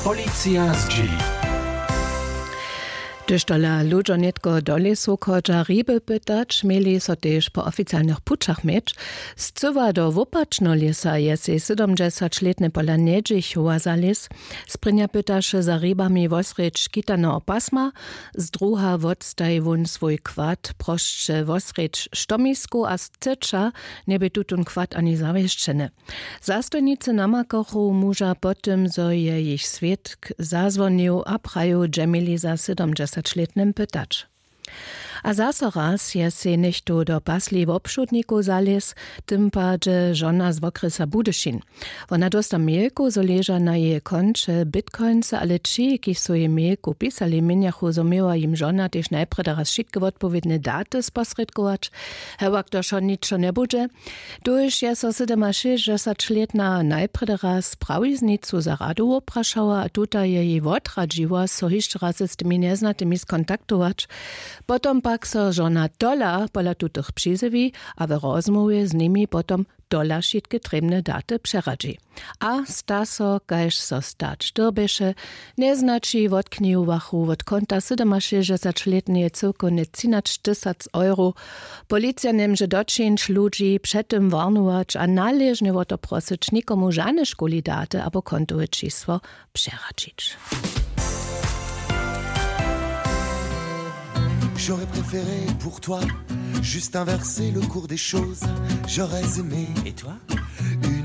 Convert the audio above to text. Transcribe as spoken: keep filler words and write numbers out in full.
Policija zdźěli. Hdyž tola ludźo nětko do lěsu chodźa hriby pytać, měli so tež po oficialnych pućach měć. Scyła do wopačneho lěsa je sej sydomdźesaćlětny pola njedźichowa za lěs. Sprěnja pytaše za hribami wosrjedź škitaneho pasma, zdruha wotstaji wón swój kład prosće wosrjedź štomiskow a scyća, njebě tutón kład ani zawěsćeny. Zastojnicy namakachu muža po tym, zo je jich swědk zazwonił a prajił, dźe měli za sydomdźesaćlětnym pytać. A zaso raz je sej něchtó do pasli wobšudnikow zalěz, w tym padźe žona z wokrjesa Budyšin. Wona dósta mailku, zo leža na jeje konće bitcoinsy, ale ći, kiž su jej mailku pisali, měnjachu, zo měła jim žona tež najprjedy raz wšitke wotpowědne daty sposrědkować. Hewak to wšo ničo njebudźe. Tuž je so sydomašěsćdźesaćlětna najprjedy raz prawiznicu za radu woprašała a tuta je jej wotradźiła, so hišće raz z tymi njeznatymi skontaktować. Potom pak so žona tola pola tutych přizjewi a w rozmołwje z nimi potom tola wšitke trěbne daty přeradźi. A sta so, kaž so stać dyrbješe. Njeznaći wotknihowachu wot konta sydomašěsćdźesaćlětneje cyłkownje třinaćtysac euro. Policija njemóže doćińć ludźi před tym warnować a naležnje wo to prosyć, nikomu žane škuli daty abo kontowe čisło přeradźić. J'aurais préféré pour toi juste inverser le cours des choses. J'aurais aimé. Et toi ?